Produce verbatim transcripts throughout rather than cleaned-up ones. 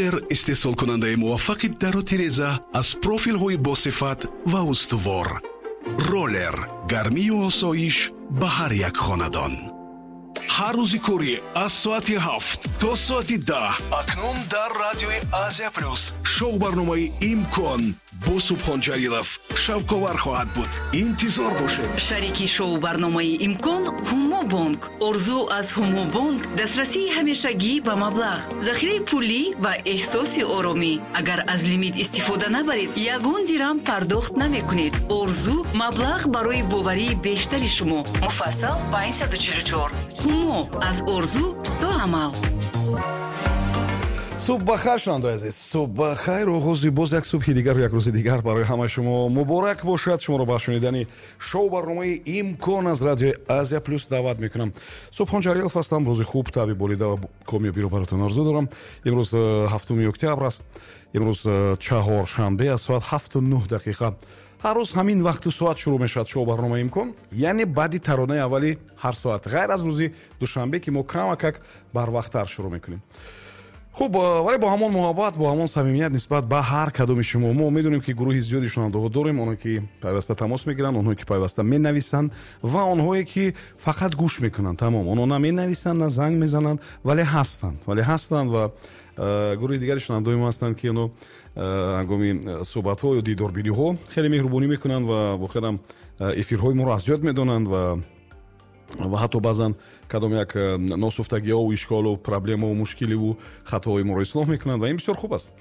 Роллер, истеҳсолкунандаи муваффақи дару тиреза аз профилҳои босифат ва устувор. Роллер, гармию осоиш ба ҳар як хонадон. Ҳар рӯзи корӣ аз соати ҳафт то соати даҳ акнун дар радиои Азия Плюс шоу барномаи «Имкон» бо Субҳон Ҷалилов шавқовар хоҳад буд. Интизор бошед. Шарики шоу барномаи «Имкон» Ҳумобонк. Орзу аз Ҳумобонк: дастрасии ҳамешагӣ ба маблағ, захираи пулӣ ва эҳсоси оромӣ. Агар аз лимит истифода набаред, ягон дирам пардохт намекунед. Орзу: маблағ барои боварии бештари шумо. Муфассал панҷсаду чилу чор. Ҳумо: аз орзу то амал. Субҳ бахайр, шунавандаои азиз, субҳ бахайр. Оғози боз як субҳи дигару як рӯзи дигар барои ҳамаи шумо муборак бошад. Шуморо ба шунидани шоу барномаи «Имкон» аз радиои Азия Плюс даъват мекунам. Субҳон Ҷалилов ҳастам. Рӯзи хуб, табъи болида ва комёбиро баротон орзу дорам. Имрӯз э, ҳафтуми октябр аст. Имрӯз э, чаҳоршанбе, аз соат ҳафту нӯҳ дақиқа. Ҳар рӯз ҳамин вақту соат шурӯъ мешавад шоу барномаи «Имкон», яъне баъди таронаи аввали ҳар соат, ғайр аз рӯзи душанбе, ки мо камакак барвақттар шурӯъ мекунем. Хуб, вале бо ҳамон муҳаббат, бо ҳамон самимият нисбат ба ҳар кадоми шумо. Мо медонем, ки гурӯҳи зиёди шунавандаҳо дорем: онҳое ки пайваста тамос мегиранд, онҳое ки пайваста менависанд ва онҳое ки фақат гӯш мекунанд, тамом. Онҳо на менависанд, на занг мезананд, вале ҳастанд, вале ҳастанд. Ва гурӯҳи дигари шунавандаҳои мо ҳастанд, ки онҳо ҳангоми суҳбатҳо ё дидорбиниҳо хеле меҳрубонӣ мекунанд ва воқеан эфирҳои моро аз ёд медонанд ва ва ҳатто баъзан кадом як э, носуфтагиҳову ишколу проблемаву мушкиливу хатоҳои моро ислоҳ мекунанд ва ин бисёр хуб аст.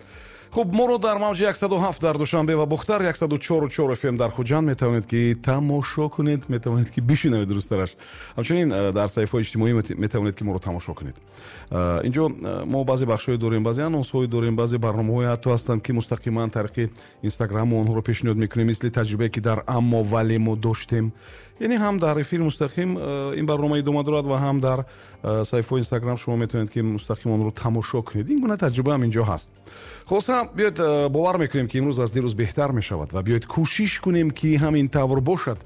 Хуб, моро дар мавҷи яксаду ҳафт дар Душанбе ва Бохтар, яксаду чору чор F M дар Хуҷанд метавонед, ки тамошо кунед, метавонед, ки бишунавед, дурусттараш. Ҳамчунин э, дар саҳифаҳои иҷтимоӣ метавонед, ки моро тамошо кунед. э, инҷо э, мо баъзе бахшҳое дорем, баъзе анонсҳое дорем, баъзе барномаҳое ҳатто ҳастанд, ки мустақиман тариқи Инстаграму онҳоро пешниҳод мекунем, мисли таҷрибае, ки дар «Аммо вале» мо доштем. Яъне ҳам дар эфир мустақим ин барнома идома дорад ва ҳам дар саҳифаҳои Инстаграм шумо метавонед, ки мустақим онро тамошо кунед. Ин гуна таҷриба ҳам инҷо ҳаст. Хулоса, биёед, бовар мекунем, ки имрӯз аз дирӯз беҳтар мешавад, ва биёед, кӯшиш кунем, ки ҳамин тавр бошад.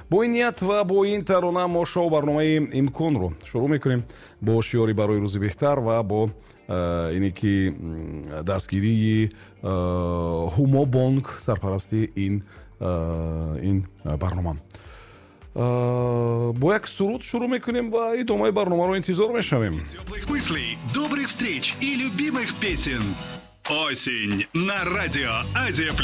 Бо ин ният ва бо ин тарона мо шоу барномаи «Имконро» шурӯъ мекунем, бо шиёри «Барои рӯзи беҳтар» ва бо ине ки дастгирии Ҳумо Бонк, сарпарасти ин ин барнома. Бо як суруд шурӯъ мекунем ва идомаи барномаро интизор мешавем. Теплых мыслей, добрых встреч и любимых песен. Осень на радио Азия.